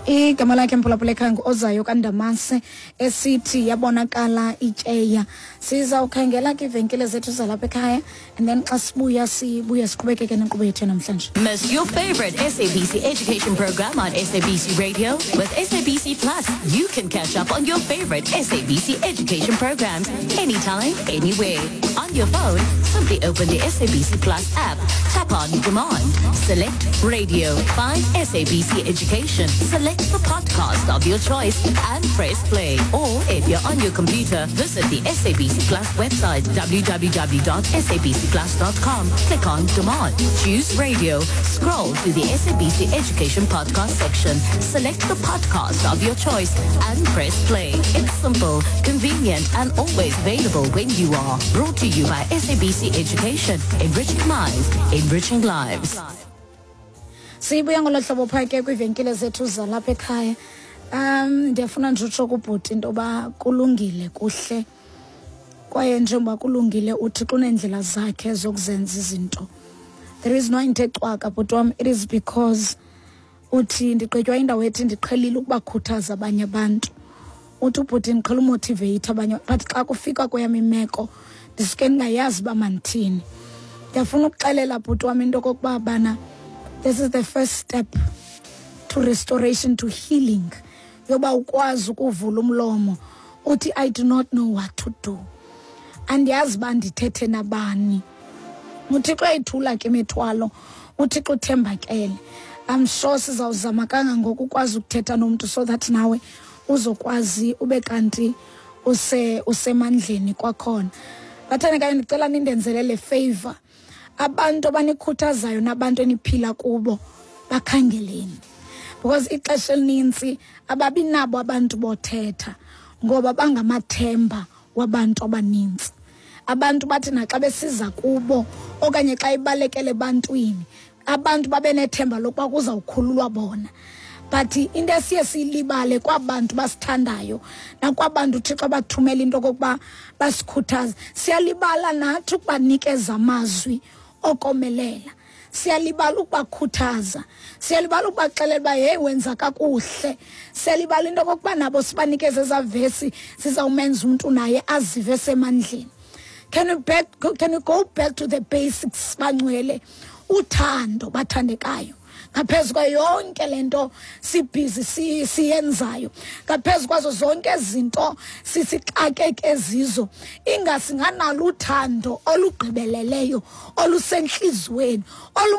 Igama lakhe, mphulaphula ekhaya, ngu-Ozayo kaNdamase, esithi "Yabonakala Ityeya". Sizawukhangela ke iivenkile zethu zalapha ekhaya and then xa sibuya, sibuye siqhubekeke nenkqubo yethu namhlanje. Miss your favorite SABC Education program on SABC Radio? With SABC Plus, you can catch up on your favorite SABC Education programs anytime, anywhere. On your phone, simply open the SABC Plus app, tap on Demand, select Radio, find SABC Education, select the podcast of your choice and press play. Or if you're on your computer, visit the SABC Plus website, www.sabcplus.com. Click on Demand, choose Radio, scroll to the SABC Education podcast section, select the podcast of your choice and press play. It's simple, convenient and always available when you are. Brought to you by SABC Education, enriching minds, enriching lives. Sibuya ngolo hlobo phaa ke kwiivenkile zethu zalapha ekhaya. Ndiyafuna nje utsho kubhuti into yoba kulungile, kuhle, kwaye njengoba kulungile, uThixo uneendlela zakhe zokuzenza izinto. There is no into ecwaka, bhuti wam. It is because uthi ndigqitywa indawo ethi ndiqhelile ukubakhuthaza abanye abantu. Uthi ubhuti, ndiqhela umotivate abanye, but xa kufika kweyam imeko ndisuke ndingayazi uba mandithini. Ndiyafuna ukuxelela, bhuti wam, into okokuba bana this is the first step to restoration, to healing, yoba ukwazi ukuvula umlomo uthi, "I do not know what to do, andiyazi uba ndithethe nabani." UThixo uyayithula ke imithwalo, uThixo uthembakele. I'm sure sizawuzama kangangoko ukwazi ukuthetha nomntu so that nawe uzokwazi ube kanti usemandleni kwakhona. Bathandekayo, ndicela nindenzele le favor. Abantu abanikhuthazayo nabantu eniphila kubo, bakhangeleni, because ixesha elinintsi ababi nabo abantu bothetha ngoba bangamathemba wabantu abanintsi. Abantu bathi naxa besiza kubo okanye xa ibalekele ebantwini, abantu babe nethemba lokuba kuzawukhululwa bona. But into esiye siyilibale kwabantu basithandayo nakwabantu uThixo abathumela into okokuba basikhuthaze, siyalibala nathi ukubanikeza amazwi okomelela, siyalibala ukubakhuthaza, siyalibala ukubaxelela uba, "Heyi, wenza kakuhle." Siyalibala into okokuba nabo sibanikeze ezaa vesi zizawumenza umntu naye azive semandleni. Can we go back to the basics, bangcwele? Uthando, bathandekayo, ngaphezu kwayo yonke le nto sibhizi siyenzayo, ngaphezu kwazo zonke izinto sisixakeke zizo, ingasinganalo uthando olugqibeleleyo olusentliziyweni.